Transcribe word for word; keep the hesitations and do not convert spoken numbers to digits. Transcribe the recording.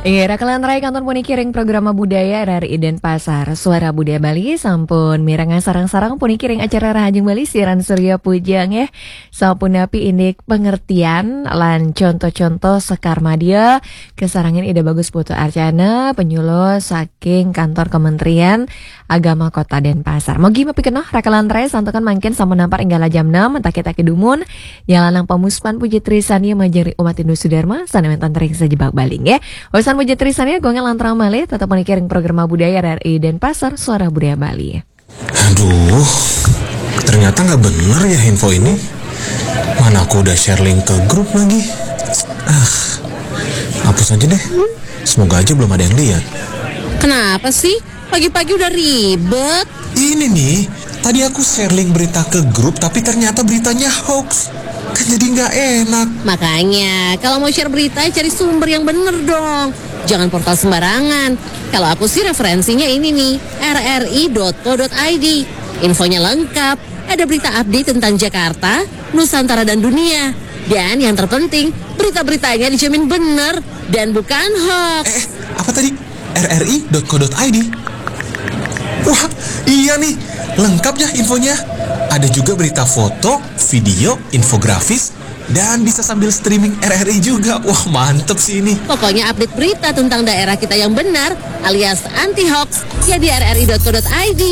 Iya, rakan lantarai kantun puniki ring programa budaya R R I Denpasar. Suara Budaya Bali sampun mirengang sareng-sareng puniki ring acara Rahajeng Bali siaran Surya Puja nggih. Sapunapi indik pengertian lan contoh-contoh sekar madya kasarengin Ida Bagus Putu Arcana, penyuluh saking Kantor Kementerian Agama Kota Denpasar. Mogi mapikenoh rakan lantarai santukan mangkin sampun nampar ring galah jam enam, taki-taki dumun, nyalanang pamuspan puji trisania majeng ring umat Hindu Sudarma, sane wenten ring sajebag Bali nggih. Usan puji trisania, gongeng lantaran malih, tetep puniki ring programa budaya R R I Denpasar, Suara Budaya Bali. Aduh, ternyata nggak bener ya info ini. Mana aku udah share link ke grup lagi. Ah, hapus aja deh. Semoga aja belum ada yang lihat. Kenapa sih? Pagi-pagi udah ribet. Ini nih, tadi aku share link berita ke grup tapi ternyata beritanya hoax. Kan jadi nggak enak. Makanya, kalau mau share berita, cari sumber yang bener dong. Jangan portal sembarangan. Kalau aku sih referensinya ini nih, R R I dot co dot I D. Infonya lengkap. Ada berita update tentang Jakarta, Nusantara dan dunia. Dan yang terpenting, berita-beritanya dijamin bener dan bukan hoax. Eh, apa tadi? R R I dot co dot I D. Wah, iya nih, lengkap ya infonya. Ada juga berita foto, video, infografis, dan bisa sambil streaming R R I juga. Wah, mantep sih ini. Pokoknya update berita tentang daerah kita yang benar alias anti hoax ya di R R I dot co dot I D.